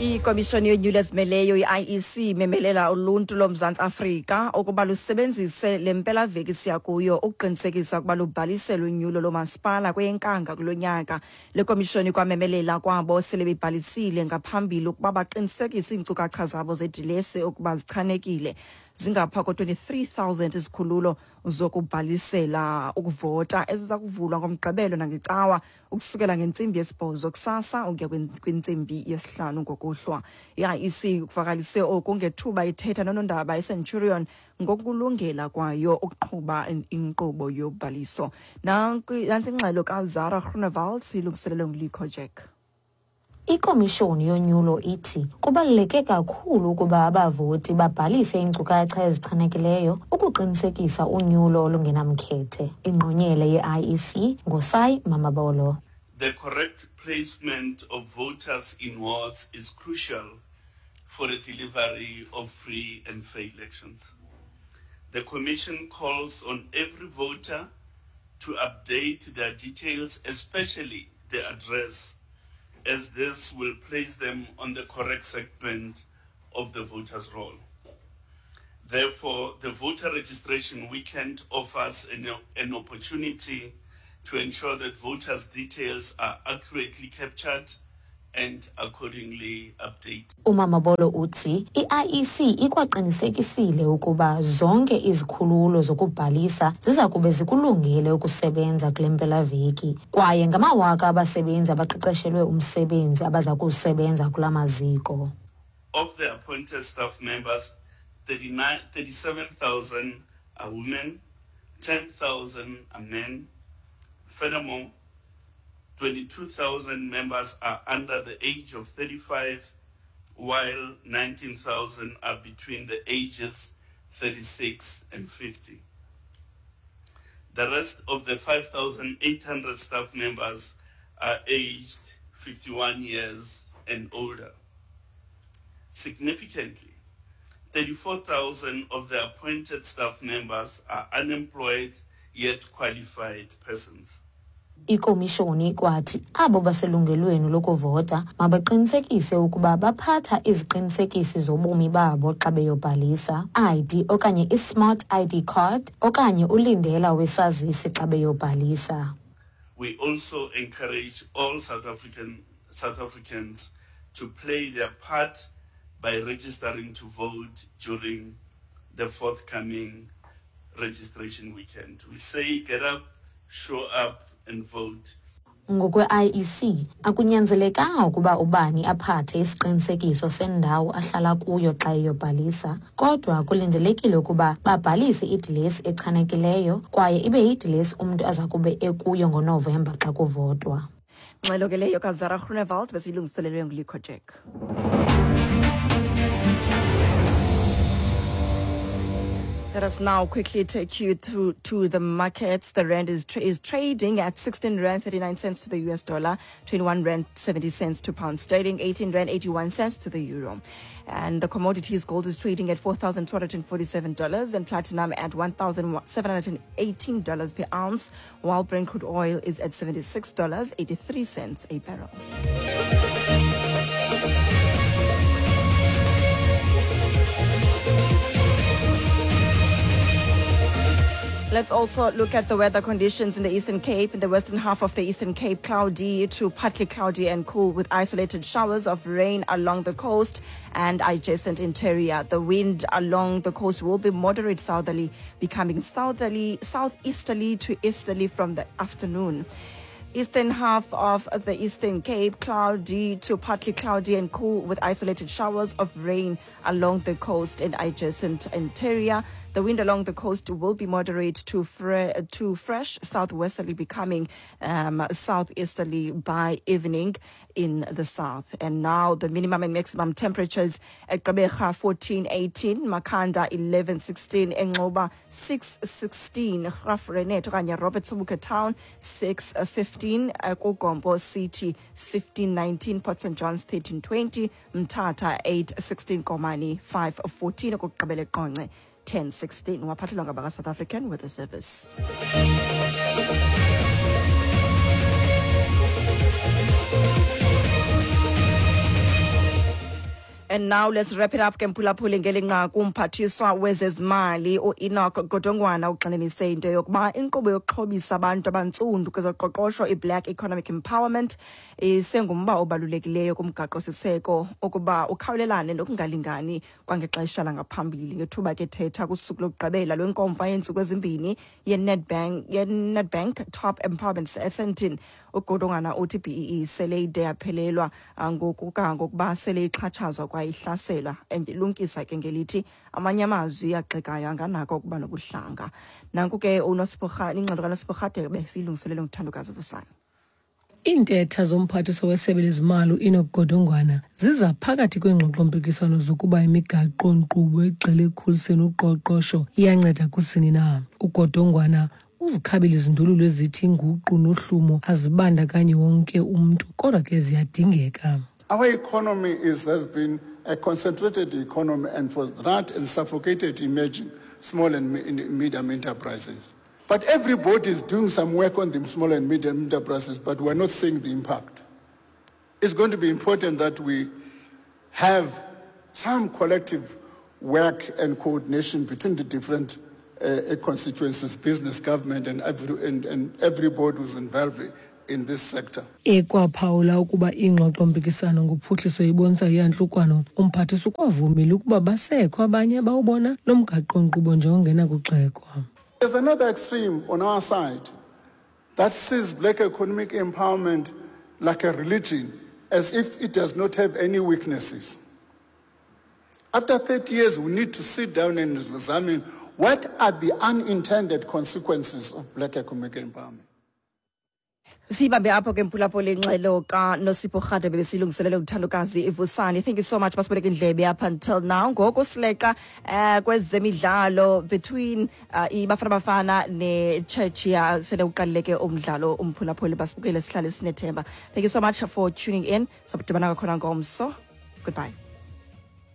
Ikomishoni yonyulo ezimeleyo i-IEC imemelela uluntu loMzantsi Afrika ukuba lusebenzise le mpelaveki siya kuyo ukuqinisekisa ukuba lubhalisele unyulo loomasipala kweyeNkanga kulo nyaka. Le komishoni ikwamemelela kwabo sele bebhalisile ngaphambili ukuba baqinisekise iinkcukacha zabo zedilesi ukuba zichanekile. Zingapha ko-23,000 izikhululo zokubhalisela ukuvota eziza kuvulwa ngoMgqibelo nangeCawa ukusukela ngentsimbi yesibhozo kusasa ukuya kwintsimbi yesihlanu ngokuhlwa. I-IEC kuvakalise oku ngethuba ithetha nonondaba eCenturion ngokulungela kwayo ukuqhuba inkqubo yobhaliso. Nantsi ingxelo kaZara Groenewald siyilungiselelwe nguLikho Jack. Ikomishoni yonyulo ithi kubaluleke kakhulu ukuba abavoti babhalise iinkcukacha ezichanekileyo ukuqinisekisa unyulo olungenamkhethe. Ingqonyela ye-IEC nguSai Mamabolo. The correct placement of voters in wards is crucial for the delivery of free and fair elections. The Commission calls on every voter to update their details, especially the address, as this will place them on the correct segment of the voters' roll. Therefore, the voter registration weekend offers an, an opportunity to ensure that voters' details are accurately captured and accordingly updated. UMamabolo uthi i-IEC ikwaqinisekisile ukuba zonke izikhululo zokubhalisa ziza kube zikulungele ukusebenza kule mpelaveki kwaye ngamawaka abasebenzi abaqeqeshelwe umsebenzi abaza kuwusebenza kula maziko. Of the appointed staff members, 37,000 are women, 10,000 are men. Furthermore, 22,000 members are under the age of 35, while 19,000 are between the ages 36 and 50. The rest of the 5,800 staff members are aged 51 years and older. Significantly, 34,000 of the appointed staff members are unemployed yet qualified persons. Ikomishoni ikwathi abo baselungelweni lokuvota mabaqinisekise ukuba baphatha iziqinisekisi zobomi babo xa beyobhalisa, ID okanye i-smart ID card okanye ulindela wesazisi xa beyobhalisa. We also encourage all South African South Africans to play their part by registering to vote during the forthcoming registration weekend. We say get up, show up and vote. Ngokwe-IEC, akunyanzelekanga ukuba ubani aphathe isiqinisekiso sendawo ahlala kuyo xa eyobhalisa, kodwa kulindelekile ukuba babhalise idilesi echanekileyo kwaye ibe yidilesi umntu aza kube ekuyo ngoNovemba xa kuvotwa. Ngxelo ke leyo kaZara Groenewald besiyilungiselelwe nguLikho Jack. Let us now quickly take you through to the markets. The rand is, tra is trading at 16 rand 39 cents to the US dollar, 21 rand 70 cents to pound sterling, 18 rand 81 cents to the euro. And the commodities gold is trading at $4,247 and platinum at $1,718 per ounce, while Brent crude oil is at $76.83 a barrel. Let's also look at the weather conditions in the Eastern Cape. In the western half of the Eastern Cape, cloudy to partly cloudy and cool with isolated showers of rain along the coast and adjacent interior. The wind along the coast will be moderate southerly, becoming southerly, southeasterly to easterly from the afternoon. Eastern half of the Eastern Cape, cloudy to partly cloudy and cool with isolated showers of rain along the coast and adjacent interior. The wind along the coast will be moderate to, fre- to fresh southwesterly, becoming um, southeasterly by evening in the south. And now the minimum and maximum temperatures at Gqeberha 14 18, Makanda 11 16, Engcoba 6 16, Graaff-Reinet okanye Robert Sobukwe Town 6 15, Kugompo City 15 19, Port St Johns 13 20, Mthatha 8 16, Komani 5 14, okokugqibela eQonce 10 16. Waphathelwa ngabaka-South African Weather Service. And now let's wrap it up ke, mphulaphuli, ngeli nqaku. Umphathiswa wezezimali uEnoch Godongwana ugxininise into yokuba inkqubo yokuxhobisa abantu abantsundu kwezoqoqosho, i-Black Economic Empowerment, isengumba obalulekileyo kumgaqo-siseko ukuba ukhawulelane nokungalingani kwangexesha langaphambili. Ngethuba ke thetha kusuku lokugqibela lwenkomfa yeentsuku ezimbini yeNedbank Top Empowerment eSandton, uGodongwana uthi BEE sele ide yaphelelwa ngokuba sele ixhatshazwa kwaye ihlaselwa, elumkisa ke ngelithi amanye amazwi agxekayo anganako ukuba nobuhlanga. Nanku ke uNosipho, ingxelo kaNosipho Rhadebe, siyilungiselele nguThandokazi Vusana. Iintetha zomphathiswa wesebe lezimali uEnoch Godongwana ziza phakathi kweengxoxompikiswano zokuba imigaqo-nkqubo egxile ekukhuliseni uqoqosho iyanceda kusini na. UGodongwana uzikhabile izindululo ezithi inguqu nohlumo azibandakanyi wonke umntu, kodwa ke ziyadingeka. Our economy has been a concentrated economy and for that and suffocated emerging small and medium enterprises. But everybody is doing some work on the small and medium enterprises, but we're not seeing the impact. It's going to be important that we have some collective work and coordination between the different constituencies, business, government, and everybody who's involved in this sector. Ekwaphawula ukuba ingxoxompikisano ngophuhliso ibonisa iyantlukwano, umphathiswa ukwavumile ukuba basekho abanye abawubona lo mgaqo-nkqubo njengongenakugxekwa. There's another extreme on our side that sees black economic empowerment like a religion, as if it does not have any weaknesses. After 30 years, we need to sit down and examine what are the unintended consequences of black economic empowerment. Siyibambe apho ke, mphulaphuli, ingxelo kaNosipho Rhadebe besilungiselele uThandokazi Ivusani. Thank you so much basiboleka indlebe up until now. Ngoku sileqa kwezemidlalo between iBafana Bafana neCzechia. Sele uqalile ke umdlalo, umphulaphuli. Basibukele, sihlale sinethemba. Thank you so much for tuning in. Sabudibana kwakhona ngomso. Goodbye.